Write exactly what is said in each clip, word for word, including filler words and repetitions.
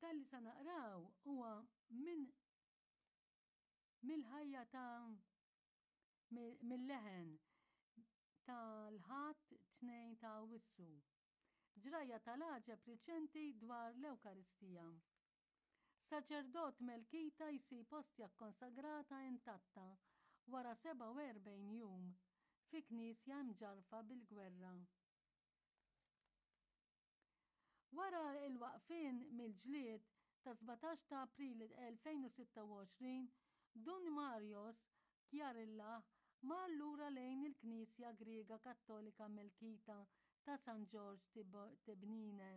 Dan li se naqraw huwa minn mill-ħajja ta' mill-leħen tal-Ħadd tnejn ta' Awwissu. Ġrajja tal-għaġeb riċenti dwar l-Ewkaristija. Saċerdot Melkita jsib ostja kkonsagrata intatta wara sebgħa u erbgħin jum fi knisja mġarrfa bil-gwerra. Wara l-waqfien mill-ġlied ta' sbatax ta' April elfejn u sitta u għoxrin, Dun Marios Chiarillah mar lura lejn il-Knisja Griega Kattolika Melkita ta' San Ġorġ Tibnine.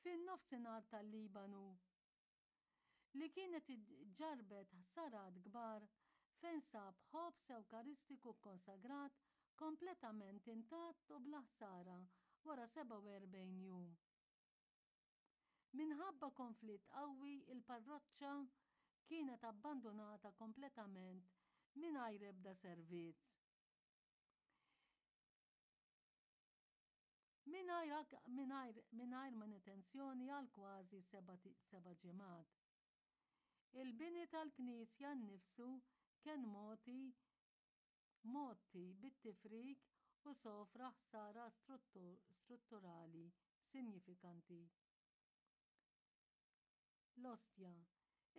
Fin-nofsinhar tal-Libanu, li kienet ġarrbet ħsarat kbar fejn sab ħobż Ewkaristiku kkonsagrat kompletament intatt u bla ħsara wara sebgħa u erbgħin jum. Minħabba konflitt qawwi il-parroċċa kienet abbandunata kompletament mingħajr ebda servizz. Mingħajr mingħajr manutenzjoni għal kważi seba' ġimgħat. Il-bini tal-knisja nnifsu kien mogħti mgħotti bit-tifrik u sofra ħsara strutturali sinjifikanti. L-ostja.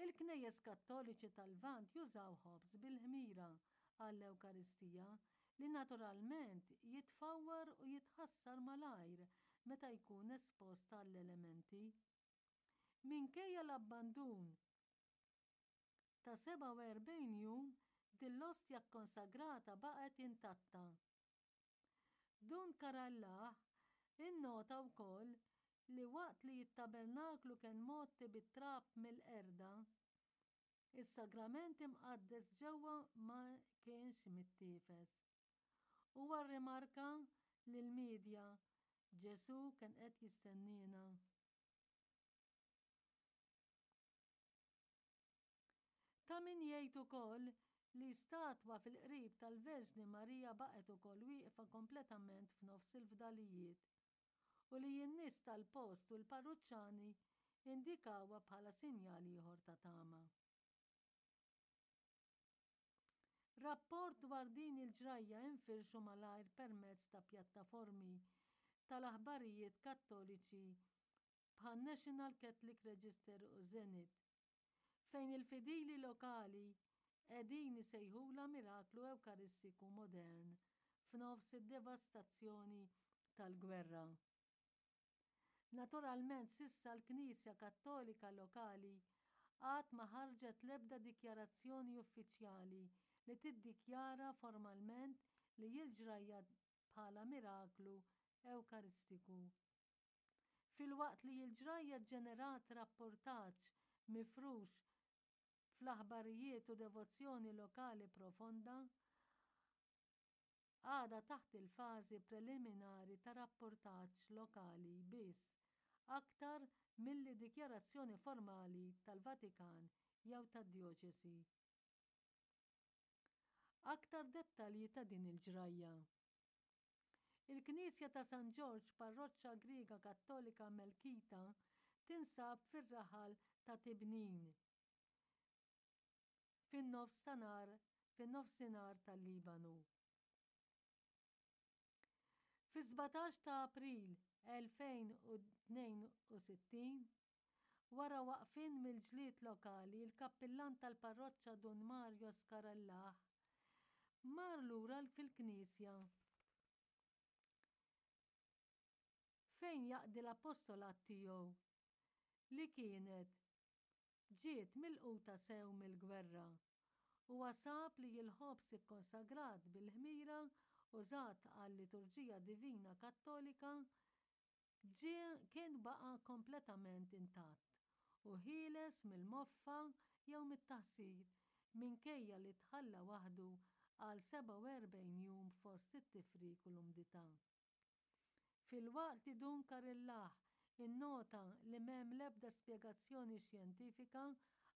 Il-knejjes Kattoliċi tal-Lvant jużaw ħobż bil-ħmira għall-Ewkaristija li naturalment jitfawwar u jitħassar malajr meta jkun espost għall-elementi. Minkejja l-abbandun ta' sebgħa u erbgħin jum, din l-ostja kkonsagrata baqgħet intatta. Dun Karallah innota wkoll li waqt li t-tabernaklu kien mgħotti bit-trab mill-qerda, is-sagrament imqaddes ġewwa ma kienx mittiefes. Huwa rrimarka lill-midja, Ġesù kien qed jistenniena. Ta' min jgħid ukoll li statwa fil-qrib tal-Verġni Marija baqgħet ukoll wieqfa kompletament f'nofs il-fdalijiet u li n-nies tal-post u l-parruċċani indikawha bħala sinjal ieħor ta' tama. Rapport dwar din il-ġrajja infirxu malajr permezz ta' pjattaformi tal-aħbarijiet Kattoliċi bħan-National Catholic Register u Zenit, fejn il-fidili lokali qegħdin isejħulha miraklu Ewkaristiku modern f'nofs id-devastazzjoni tal-gwerra. Naturalment s'issa l-Knisja Kattolika lokali għad ma ħarġet l-ebda dikjarazzjoni uffiċjali li tiddikjara formalment li l-ġrajja bħala miraklu Ewkaristiku. Filwaqt li l-ġrajja ġġenerat rapportaġġ mifrux fl-aħbarijiet u devozzjoni lokali profonda, għadha taħt il-fażi preliminari ta' rapportaġġ lokali biss aktar milli dikjarazzjoni formali tal-Vatikan jew tad-djoċesi. Aktar dettalji ta' din il-ġrajja. Il-Knisja ta' San Ġorġ, parroċċa Griega Kattolika Melkita, tinsab fir-raħal ta' Tibnin, fin-nofsinhar fin-nofsinhar tal-Libanu. Fis-sbatax ta' April elfejn u tnejn u sittin, wara waqfien mill-ġlied lokali, il-kappillan tal-parroċċa Dun Mario Scarallah mar lura fil-knisja fejn jaqdi l-appostolat tiegħu li kienet ġiet milquta sew mill-gwerra. Huwa sab li l-ħobż ikkonsagrat bil-ħmira użat għal-liturġija divina Kattolika ġie kien baqa' kompletament intatt u ħieles mill-moffa jew mit-taħsir minkejja li tħalla waħdu għal sebgħa u erbgħin jum fost it-tifrik u l-umdità. Filwaqt li Dun Karillah innota li m'hemm l-ebda spjegazzjoni xjentifika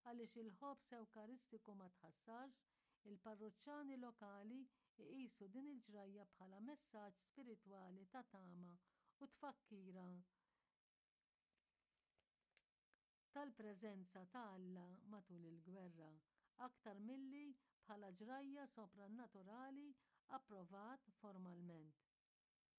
għaliex il-ħobż Ewkaristiku ma tħassarx, il-parruċċani lokali jqisu din il-ġrajja bħala messaġġ spiritwali ta' tama u tfakkira tal-preżenza ta' Alla matul il-gwerra, aktar milli bħala ġrajja soprannaturali approvat formalment.